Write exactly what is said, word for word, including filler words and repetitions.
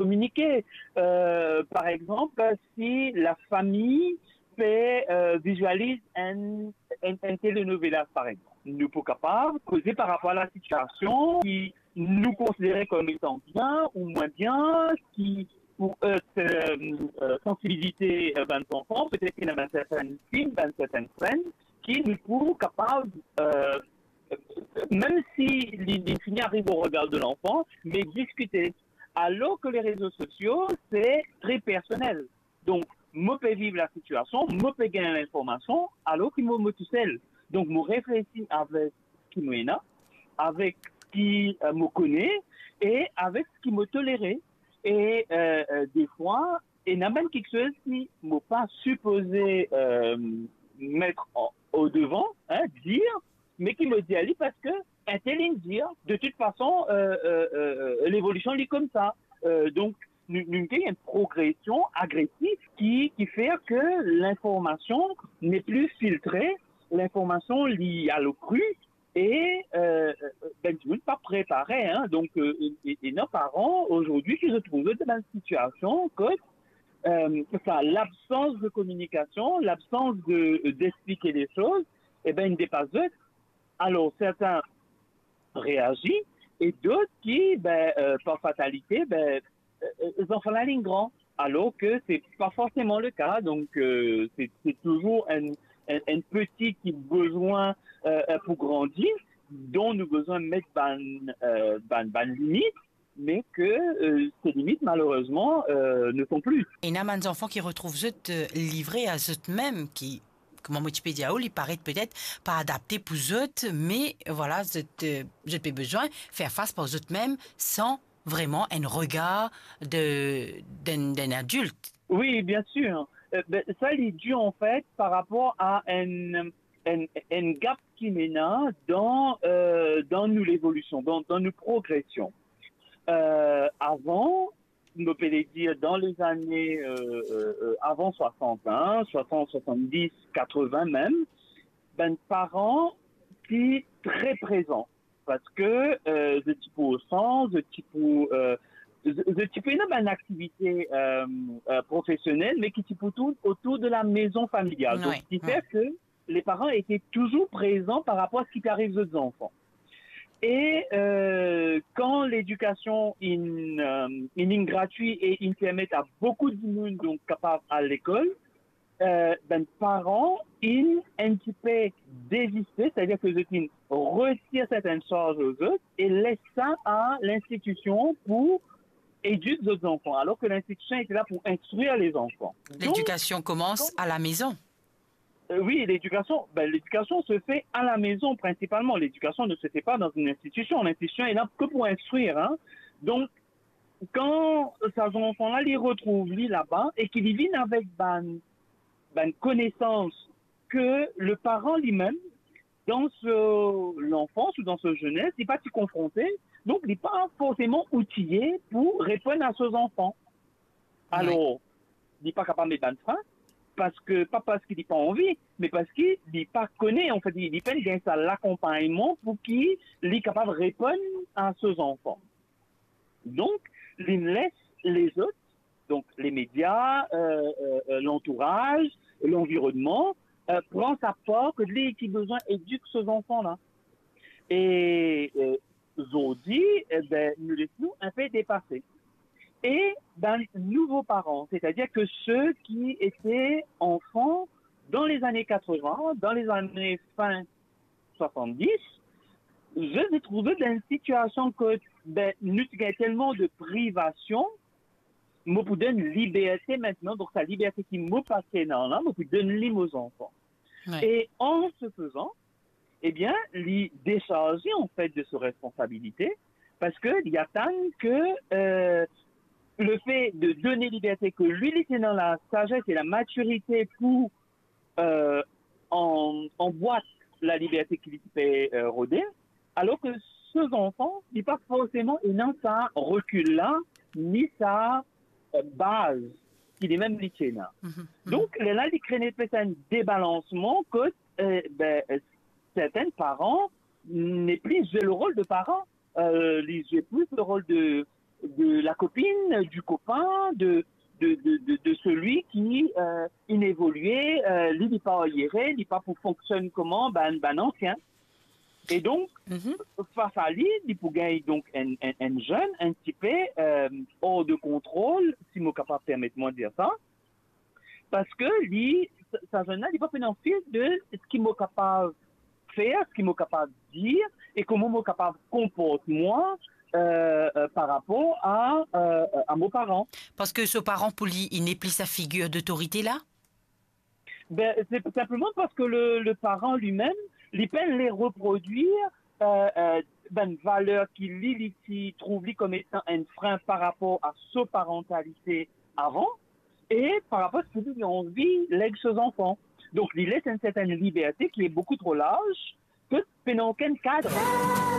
kominike. Euh, par exemple, si la famille fait, euh, visualise un, un, un telenovelas, par exemple. Nou pou kapav koze par rapor a la sitiasion ki nou konsidere kom etan bien ou mwin bien, ki pou, euh, euh, sansibilize, euh, bann zanfan, petet ki ena bann sertenn film, bann sertenn senn ki nou pou kapav, euh, mem si li, li fini ariv o regar de lanfan, me diskite. Alor ki le rezo sosio, se tre personel. Donk, mo pe viv la sitiasion, mo pe gagn linformasion, alor ki mo, mo tousel. Donk, mo reflesi avek ki mo ena, avek ki, euh, mo kone, e avek ki mo tolere. E, euh, euh, defwa, ena bann kiksoz ki mo pa sipoze, euh, met o, o devan, hein, dir, me ki mo dir li parski entel inn dir, de tout fason, euh, euh, euh, euh, levolision li koumsa. Euh, donk, nou, nou gagn enn progresion agresif ki, ki fer ke linformasion nepli filtre, linformasion li al o kri, e, euh, euh, bann dimoun pa prepare, hein. Donk, euh, e, e, ena paran azordi ki retrouv dan bann sitiasion kot, euh, sa, labsans de kominikasion, labsans de, d'explike le soz, e ben, inn depas zot. Alor, serten reazi, e dot ki, ben, euh, par fatalite, ben, euh, euh, zanfan la inn gran, alor ki se pa forseman le ka. Donk, euh, se, se touzour enn, enn, enn peti ki bizin, euh, euh, pou grandi, donk nou bizin met bann, euh, bann, bann limit, me ki, euh, se limit, malerezman, euh, ne sont plus. Ena bann zanfan ki retrouv zot, euh, livre a zotmem, ki, kouma mo ti pe dir ou, li paret petet pa adapte pou zot, me, vwala, zot, euh, zot pe bizin fer fas par zotmem san vreman enn regar de, d'enn, d'enn adilt. Wi, bien sir. Euh, ben, sa, li dir, an fet, par rapor a enn, enn, enn gap ki ena dan, euh, dan nou levolision, dan, dan nou progresion. Euh, avan, nou pe dir dan lezane, euh, euh, euh, avan swasant, hein, swasant, swasanndiz, katreven mem, bann paran ti tre prezan. Parski, euh, zot ti pou o san, zot ti pou, euh, zot, zot ti pou ena bann aktivite, euh, euh, profesionel, me ki ti pou tourn otour de la maison familiale. Donk, wi, ki fer ke le paran ete touzour prezan par rapor a seki pe ariv zot zanfan. E, euh, kan ledikasion inn, euh, inn, inn gratwi e inn permet a boukou dimoun, donk, kapav al lekol, euh, bann paran inn enn tipe deziste, setadir ki zot inn retir sertenn sarz lor zot e les sa a linstitision pou edik zot zanfan, alor ki linstitision ete la pou instrir lezanfan. Donk, ledikasion koumans kan a la maison. Euh, wi, ledikasion, ben, ledikasion se fait à la maison principalement. L'éducation ne se fait pas dans une institution. L'institution est là que pour instruire, hein. Donk, kan sa zanfan la, li retrouv li laba e ki li vinn avek bann, bann konesans ki le paran limem, dan so lanfans ou dan so zenes, li pa ti konfronte, donk li pa forseman outiye pou reponn a so zanfan. Wi. Alor, li pa kapav met bann frin, parski, pa parski li pa anvi, me parski li pa kone, anfet, li, li pa'nn gagn sa lakonpagnman pou ki li kapav reponn a so zanfan. Donk, li les lezot, donk, le media, euh, euh, euh, lantouraz, lanvironnman, euh, pran sa par kot li ki bizin edik so zanfan la. E, euh, zordi, e ben, nou les nou inpe depase. E bann nouvo paran, setadir ki seki ete anfan dan lezane katreven, dan lezane fin swasanndiz, zot retrouv dan enn sitiasion kot, ben, nou ti gagn telman de privasion, mo pou donn liberte aster, donk sa liberte ki mo pa ti ena la, mo pou donn li mo zanfan. Wi. E an se fezan, ebien, li desarze, anfet, de so responsabilite, parski li atann ki, euh, le fait de donner liberté, ki li, li ti ena la sazes e la matirite pou, euh, an, anbwat laliberte ki li ti pe, euh, rode, alor ki so zanfan, li pa forseman ena sa rekil la, ni sa, euh, baz ki limem li ti ena. Mhm, mhm. Donk, lerla, li kre enn espes enn debalansman kot, euh, ben, euh, serten paran nepli zwe le rol de paran, euh, li zwe plis le rol de, de la copine, du copain, de, de, de, de, de celui qui euh, il évolue, euh, li, li pa ayere, li pa pou fonksionn kouma bann, bann ansien. E donk, Mhm. fas a li, li pou gagn donk enn, enn, enn zenn, enn tipe euh, hors de contrôle, si mo kapav permet mwa dir sa, parski li, sa, sa zenn la, li pa pena fil de seki mo kapav fer, seki mo kapav dir, e kouma mo kapav konport mwa euh, euh, par rapor a, euh, euh, a mo paran. Parski so paran pou li, li nepli sa figir dotorite la. Ben, c'est simplement parce que le, le parent lui-même, li pena le reproduire euh, euh, bann valer ki li, li ti trouv li comme étant un frein par rapport à sa parentalité avant, et par rapport à ce qu'il a envie leg ses enfants. Donc, li les une certaine liberté qui est beaucoup trop large, que pena okenn kad.